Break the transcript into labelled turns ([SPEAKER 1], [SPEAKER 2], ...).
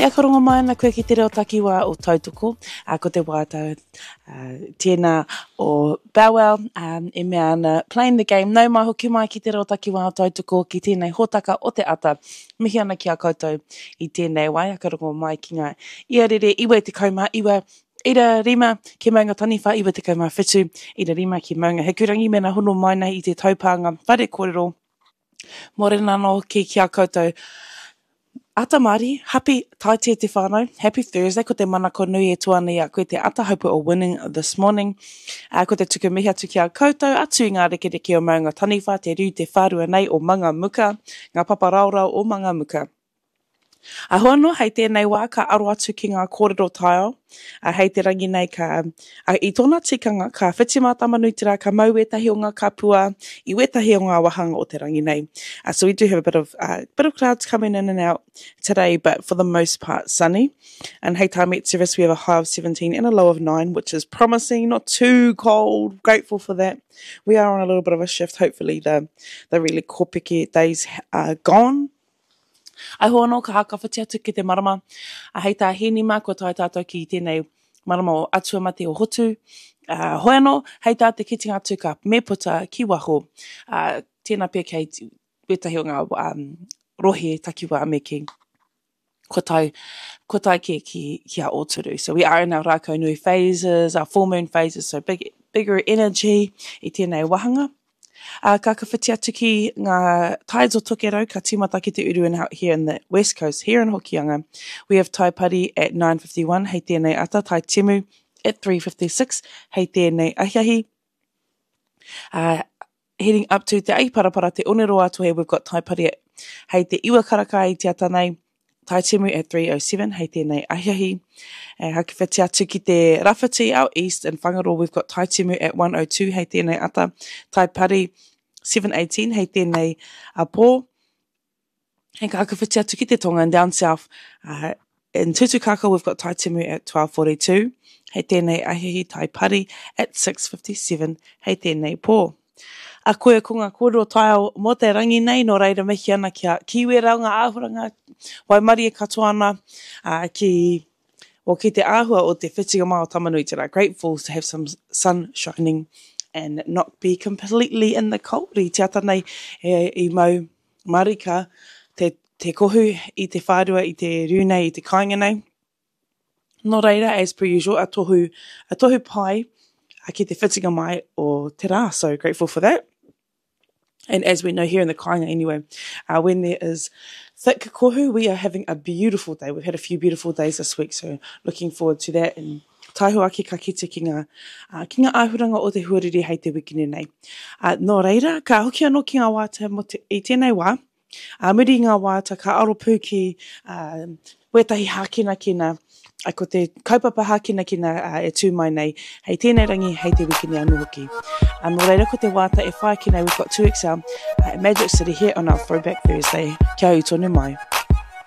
[SPEAKER 1] Ia ka rongo mai ana koe ki te reo takiwā o Tautoko, ā, ko te waiata tēnā o Bow Wow e mea ana Playing the game, nau mai hoki mai ki te reo takiwā o Tautoko ki tēnei hōtaka o te ata. Mihi ana ki a koutou i tēnei wā, ia ka rongo mai ki ngā iarere 99, ira rima ki Maunga Taniwha 97, ira rima ki Maunga Hikurangi mēnā hono mai nei i te taupānga whare kōrero. Mōrena anō hoki ki a koutou. Ata Māori, happy Taite te whānau, happy Thursday, ko te manako nui e tū ana i a koe te ata, hope we're all winning this morning. Ā, ko te tuku mihi atu ki a koutou, atu i ngā rekereke o Maunga Taniwha, te riu te whārua nei o Mangamuka, ngā papa raorao o Mangamuka. Ā, hoi anō, hei tēnei wā ka aro atu ki ngā kōrero taiao, ā, hei te rangi nei ka, ā, i tōna tikanga, ka whiti mā Tamanuiterā, ka mau wētahi o ngā kapua i wētahi o ngā wāhanga o te rangi nei. Uh, so we do have a bit of, uh, bit of clouds coming in and out today, but for the most part sunny. And hei tā Met Service, we have a high of 17 and a low of 9, which is promising, not too cold, grateful for that. We are on a little bit of a shift, hopefully the, the really kōpeke days are gone. I hoa anō ka hākawhiti atu ki te marama, a hei tā Hēni mā kua tae tātou ki tēnei marama o Atua Mate o Hotu. Ā, hoi anō, hei tā te kitenga atu ka me puta ki waho. Ā, tēnā pea kei wētahi o ngā um, rohe takiwā me kī. Kua tae, kua tae kē ki, ki a Ōturu. So we are in our rākau nui phases, our full moon phases, so big, bigger energy i tēnei wāhanga. Ā, ka ka whiti atu ki ngā tides o Tokerau, ka tīmata ki te uru in here in the west coast, here in Hokianga. We have Taipari at 9.51 hei tēnei ata, Tai Timu at 3.56 hei tēnei ahiahi. Ā, heading up to Te Ahiparapara, Te Oneroa Tohe, we've got Taipari at hei te iwa karaka i te ata nei, Taitimu at 3.07 hei tēnei ahiahi. E hakawhiti atu ki te rawhiti, out east in Whangaroa, we've got Taitimu at 1.02 hei tēnei ata, Taipari 7.18 hei tēnei a pō. Hei ka hakawhiti atu ki te tonga and down south, uh, in Tutukaka we've got Taitimu at 12.42 hei tēnei ahiahi, Taipari at 6.57 hei tēnei pō. A koe ko ngā kōrero taiao mō te rangi nei, nō reira mihi ana ki a Kiwera o ngā āhuranga waimarie katoa ana ā, ki, well, ki te āhua o te whitinga mai o Tamanuiterā. Grateful to have some sun shining and not be completely in the cold. I te ata nei e, i mau marika te, te kohu i te whārua, i te riu nei, i te kāinga nei. Nō reira, as per usual, a tohu, a tohu pai ki te whitinga mai o te rā. So grateful for that. And as we know here in the kāinga anyway, uh, when there is thick kohu, we are having a beautiful day. We've had a few beautiful days this week, so looking forward to that. And taiho ake ka kite ki ngā, uh, ki ngā āhuranga o te huarere hei te wikine nei. Uh, nō reira, ka hoki anō ki ngā wātea mo te, i tēnei wā, Ā muri i ngā waiata ka aro pū ki wētahi hākinakina, ko te kaupapa hākinakina e tū mai nei hei tēnei rangi, hei te wikini anō hoki. Nō reira ko te waiata e whai ake nei, we've got 2XL, Magic City here on our Throwback Thursday. Kia ū tonu mai.